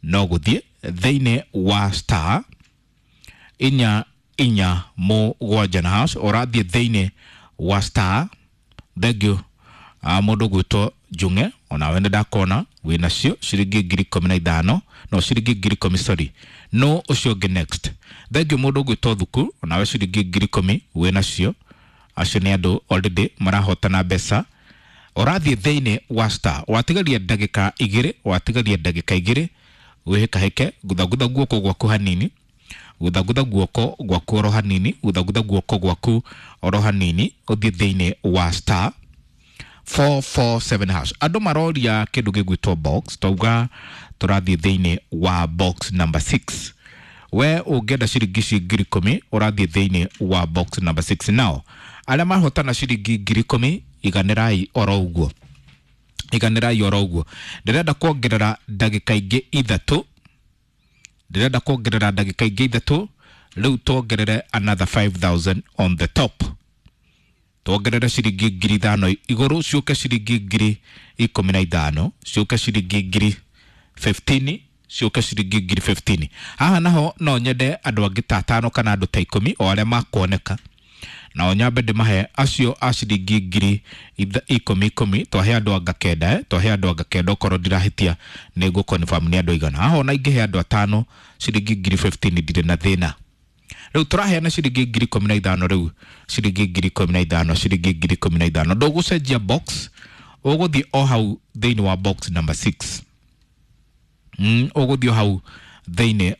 No gũthiĩ thĩinĩ wa star 447 na hash. Ũrathiĩ thĩinĩ wa star. Thank you. Mũndũ gwĩtwo Njung'e, onawe nĩ ndakona wĩnacio ciringi 15,000, no ciringi 10,000, sorry. No ũcio ũngĩ next. Thank you, mũndũ gwĩtwo Thuku, onawe ciringi 10,000 wĩnacio. Acio nĩ andũ already marahotana mbeca. Ũrathiĩ thĩinĩ wa star, watigaria ndagĩka 2, watigaria ndagĩka 2, wĩhĩkahĩke, guthagutha guoko gwaku hanini, guthagutha guoko gwaku oro hanini, guthagutha guoko gwaku oro hanini, ũthiĩ thĩinĩ wa star 447 hash. Andũ maroria kĩndũ gĩgwĩtwo box. Twauga tũrathiĩ thĩinĩ wa box number 6. We ũngĩenda ciringi ici 10,000, ũrathiĩ thĩinĩ wa box number 6. Nao arĩa mahotana ciringi 10,000, iganĩrai oro ũguo, iganĩrai oro ũguo. Ndĩrenda kuongerera ndagĩka ingĩ 3, ndĩrenda kuongerera ndagĩka ingĩ 3. Rĩu tuongerere another 5000 on the top, tuongerere ciringi 5,000 igũrũ, ciũke ciringi 15,000, ciũke ciringi 15,000, ciũke ciringi 15,000. Haha naho no nyende andũ angĩ ta atano kana andũ ta 10 o arĩa makuoneka, nao nyambe ndĩmahe acio a ciringi 10,000 10. Twahe andũ anga 9, twahe andũ anga 9, okorwo ndirahĩtia nĩ ngũ confirm nĩ andũ aigana. Haha ona ingĩhe andũ atano ciringi 15,000, ndirĩ na thĩna. Rĩu tũraheana ciringi 15,000, rĩu ciringi 15,000, ciringi 15,000. Ndũgũcenjia box, ũgũthiĩ o hau thĩinĩ wa box number 6. Ũgũthiĩ o hau thĩinĩ.